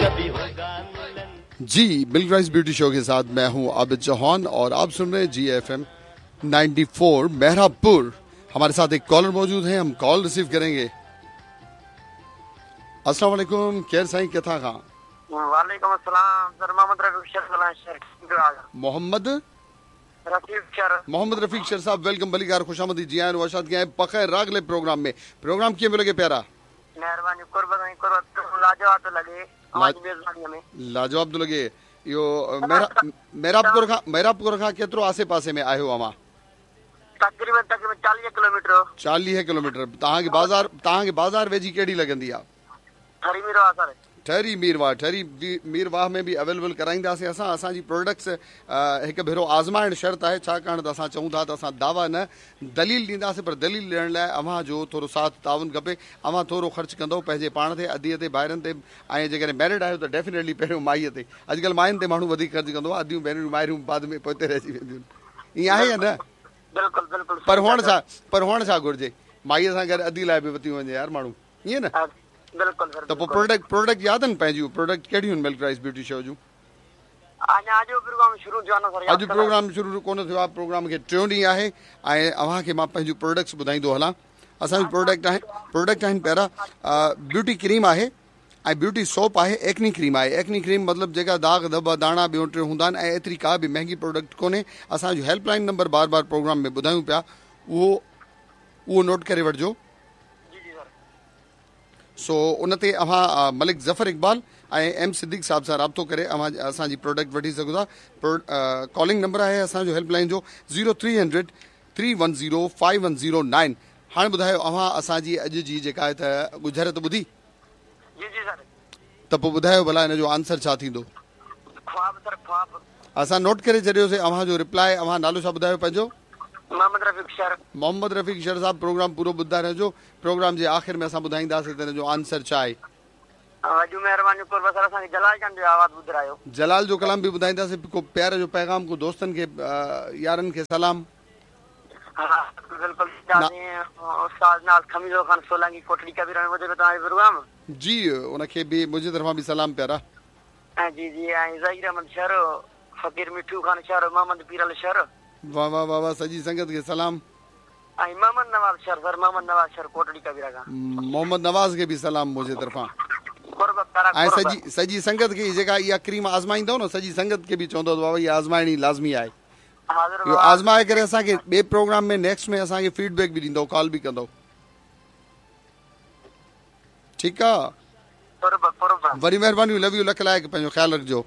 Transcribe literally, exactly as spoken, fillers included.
कभी होगा मिलन। जी, milk rice beauty show के साथ मैं हूं आबिद चौहान और आप सुन रहे हैं जी एफ एम नाइन्टी फोर मेहराबपुर। हमारे साथ एक कॉलर मौजूद हैं, हम कॉल रिसीव करेंगे। अस्सलाम वालेकुम, केर साईं किथां खां? वालेकुम अस्सलाम सर, मोहम्मद रफीक शर शर। मोहम्मद रफीक शर। मोहम्मद रफीक शर साहब, welcome, भलीकार, खुशामदी, जी आयां, वशाद के बखैर रागले प्रोग्राम में। प्रोग्राम कीअं पियो लॻे प्यारा? मेहरबानी, कुर्ब साईं, कुर्ब। लाजवाब थो लॻे अव्हां जी मेज़बानीअ में। लाजवाब थो लॻे। इहो मेहराबपुर खां, मेहराबपुर खां केतिरो आसे पासे में आहियो अव्हां? तक़रीबन तक़रीबन चालीह किलोमीटर। चालीह किलोमीटर। तव्हांखे बाज़ार, तव्हांखे बाज़ार वेझी कहिड़ी लॻंदी आहे? ठरी मीरवाह सर। ठरी मीरवाह, ठरी मीरवाह में बि अवेलेबल कराईंदासीं असां। असांजी प्रोडक्ट्स हिकु भेरो आज़माइण शर्त आहे, छाकाणि त असां चऊं था त असां दावा न दलील ॾींदासीं, पर दलील ॾियण लाइ अव्हां जो थोरो साथ ताउन खपे। अव्हां थोरो ख़र्चु कंदव पंहिंजे पाण ते, अधीअ ते, भाइरनि ते, ऐं जेकॾहिं मैरिड आहियो त डेफिनेटली पहिरियों माईअ ते। अॼुकल्ह मायुनि ते माण्हू वधीक ख़र्चु कंदो आहे, अधियूं भेणियूं माइरियूं बाद में पोइते रहिजी वेंदियूं आहिनि। ईअं आहे या न? बिल्कुलु बिल्कुलु। पर हुअणु छा, पर हुअणु छा घुरिजे, माईअ सां गॾु अधी लाइ बि वरिती वञे यार माण्हू, ईअं न? बिल्कुलु सर। त पोइ प्रोडक्ट, प्रोडक्ट यादि आहिनि पंहिंजूं? प्रोडक्ट कहिड़ियूं आहिनि मिल्क राइस ब्यूटी शो जूं? अञा अॼु प्रोग्राम शुरू थियो आहे न सर? अॼु प्रोग्राम शुरू कोन थियो आहे, प्रोग्राम खे टियों ॾींहुं आहे ऐं अव्हांखे मां पंहिंजूं प्रोडक्ट्स ॿुधाईंदो हलां। असांजूं प्रोडक्ट आहिनि, प्रोडक्ट आहिनि प्यारा, ब्यूटी क्रीम आहे ऐं ब्यूटी सोप आहे, एक्नी क्रीम आहे। एक्नी क्रीम मतिलबु जेका दाग़ धब दाणा ॿियो टियों हूंदा आहिनि, ऐं एतिरी का बि महिंगी प्रोडक्ट कोन्हे। असांजो हेल्पलाइन नंबर बार बार प्रोग्राम में ॿुधायूं पिया, उहो उहो नोट करे वठिजो। सो उन ते अव्हां मलिक ज़फ़र इक़बाल ऐं एम सिद्दीक साहब सां राब्तो करे अव्हां असांजी प्रोडक्ट वठी सघो था। कॉलिंग नंबर आहे असांजो हेल्पलाइन जो zero three hundred three one zero five one zero nine. हाणे ॿुधायो अव्हां असांजी अॼु जी जेका आहे त ॻुझर त ॿुधी? जी जी सर। त पोइ ॿुधायो भला हिन जो आंसर छा थींदो? ख्वाब सर, ख्वाब। असां नोट करे छॾियोसीं अव्हांजो रिप्लाई। अव्हां नालो छा ॿुधायो पंहिंजो? मोहम्मद रफ़ीक शर। मोहम्मद रफ़ीक शर साहब, प्रोग्राम पूरो ॿुधंदा रहिजो। प्रोग्राम जे आख़िर में असां ॿुधाईंदासीं त हिन जो आंसर छा आहे। वॾियूं महिरबानियूं कुर्ब सर, असांखे जलाल खान जो आवाज़ ॿुधायो। जलाल जो कलाम बि ॿुधाईंदासीं, को प्यार जो पैगाम, को दोस्तनि खे, यारनि खे सलाम। हा बिल्कुलु। उस्ताद नाज़ खमीज़ो खान सोलंकी कोटड़ी कबीर में ॿुधे तव्हांजो प्रोग्राम। जी, उनखे बि मुंहिंजी तरफ़ां बि सलाम प्यारा। जी जी। ऐं ज़हीर अहमद शर, फ़क़ीर मिठू खान शर, मोहम्मद पीरल शर। वाह वाह वाह वाह, सॼी संगत खे सलाम। ऐं मोहम्मद नवाज़ शर सर, मोहम्मद नवाज़ शर कोटड़ी कबीरा खां। मोहम्मद नवाज़ खे बि सलाम मुंहिंजे तरफ़ां। ऐं सॼी सॼी संगत खे जेका इहा क्रीम आज़माईंदव न, सॼी संगत खे बि चवंदो बाबा इहा आज़माइणी लाज़मी आहे। इहो आज़माए करे असांखे ॿिए प्रोग्राम में नेक्स्ट में असांखे फीडबैक बि ॾींदव, कॉल बि कंदव। ठीकु आहे, वॾी महिरबानी, लव you, लख लाइक़, पंहिंजो ख़्यालु रखिजो।